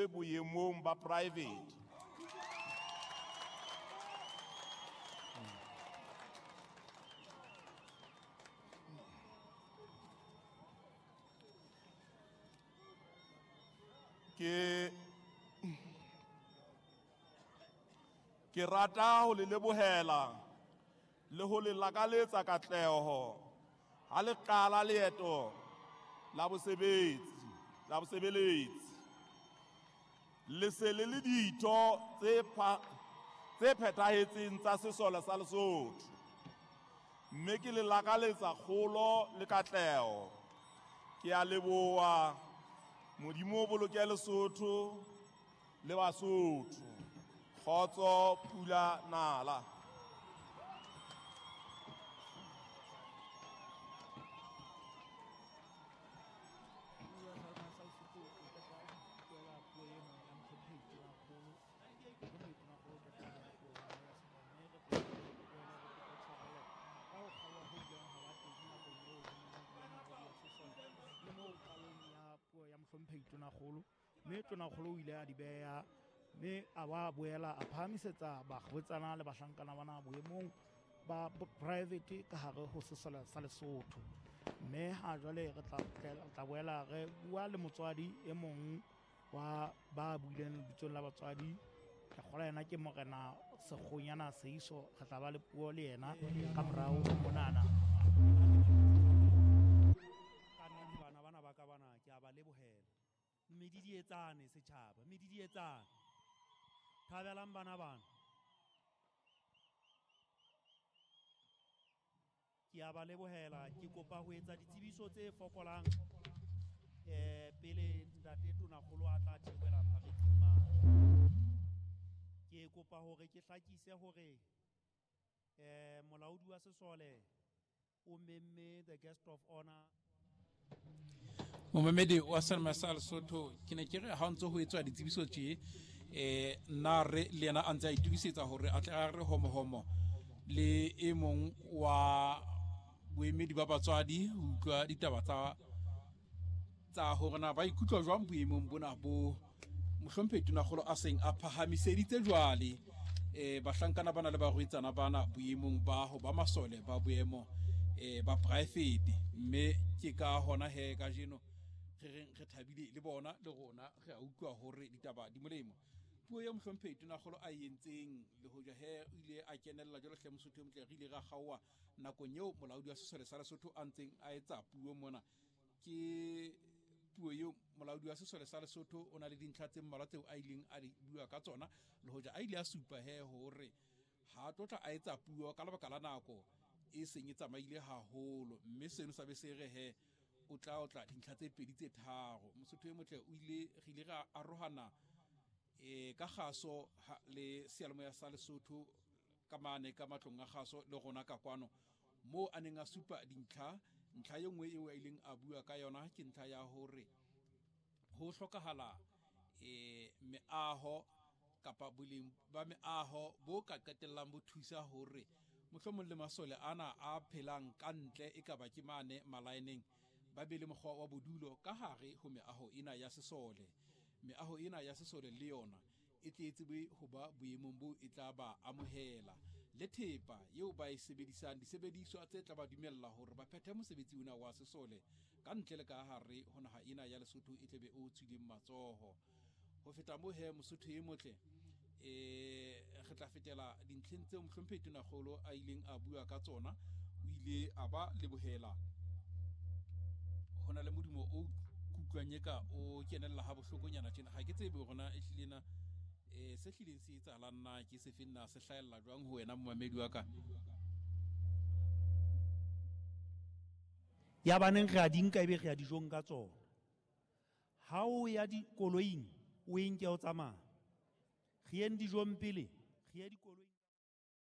Boemong ba private. Ke rata ho le lebohela le ho le lakaletsa katleho ha le qala leeto la bosebetsi la bosebeletsi. Le se le le ditho tse phethahetseng tsa sesole sa Lesotho, mme ke le lakaletsa kgolo le katleho. Ke a leboha. Modimo o boloke Lesotho le Basotho. Kgotso pula nala. Ya mohlomphehi Tonakgolo, mme Tonakgolo o ile a di beha, mme a ba boela a phahamisetsa barwetsana le bahlankana bana boemong ba private ka hare ho sesole sa Lesotho. Mme ha jwale re tla boela re bua le motswadi e mong wa ba buileng lebitsong la batswadi. Ke kgolwa yena ke Morena Sekgonyana Seiso. Re tla ba le puo le yena ka morao monana. Ka nnete bana bana ba ka bana ke a ba lebohela. Medidietsane setjhaba, medidietsane. Thabelang bana bana. Ke a ba lebohela, ke kopa ho etsa ditsebiso tse fokolang pele ntate Tonakgolo a tla theohela pharetseng mane. Ke kopa hore ke hlakise hore molaodi wa sesole o memme the guest of honor. Momamedi wa Selma sa Lesotho, ke ne ke re ha ntse ho etswa ditsebiso tje, nna re le yena a ntse a itokisetsa hore a tle a re homohomo le e mong wa boemedi ba batswadi ho utlwa ditaba tsa hore na ba ikutlwa jwang boemong bona bo mohlomphehi Tonakgolo a seng a phahamiseditse jwale bahlankana bana le barwetsana bana boemong ba ho ba masole ba boemo ba private. Mme ke ka hona he kajeno re reng re thabile le bona le rona re a utlwa hore ditaba di molemo. Puo ya mohlomphehi Tonakgolo a entseng le hoja he o ile a kenella jwalo hle Mosotho e motle, re ile ra kgaoha nakong eo molaodi wa sesole sa Lesotho a ntseng a etsa puo mona. Ke puo eo molaodi wa sesole sa Lesotho o na le dintlha tse mmalwa tseo a ileng a di bua ka tsona, le hoja a ile a supa he hore ha tlotla a etsa puo ka lebaka la nako e seng e tsamaile haholo, mme seno sa be se re he o tla dintlha tse pedi tse tharo. Mosotho e motle o ile re ile ra arohana ka kgaso le seyalemoya sa Lesotho ka mane ka matlong a kgaso le rona ka kwano moo a neng a supa dintlha. Ntlha e nngwe eo a ileng a bua ka yona ke ntlha ya hore ho hlokahala meaho kapa boleng ba meaho bo ka qetellang bo thusa hore mohlomong le masole ana a phelang ka ntle e ka ba ke mane malaeneng ba be le mokgwa wa bodulo ka hare ho meaho ena ya sesole. Meaho ena ya sesole le yona e tle e tsebe ho ba boemong bo e tla ba amohela le thepa eo ba e sebedisang, disebediswa tse tla ba dumella hore ba phethe mosebetsi ona wa sesole ka ntle le ka hare ho naha ena ya Lesotho e tlebe o tswileng matsoho. Ho feta moo he Mosotho e motle, re tla fetela dintlheng tseo mohlomphehi Tonakgolo a ileng a bua ka tsona. O ile a ba lebohela. Ho na le modumo o kutlwang eka o kenella ha bohlokonyana tjena, ha ke tsebe hore na e hlile na se hlileng se etsahalang na ke se feng na se hlahella jwang ho wena momamedi wa ka. Ya baneng re a di nka ebe re ya dijong ka tsona. Ha o ya dikoloing o e nke o tsamaya. Re yeng dijong pele, re ye dikoloing.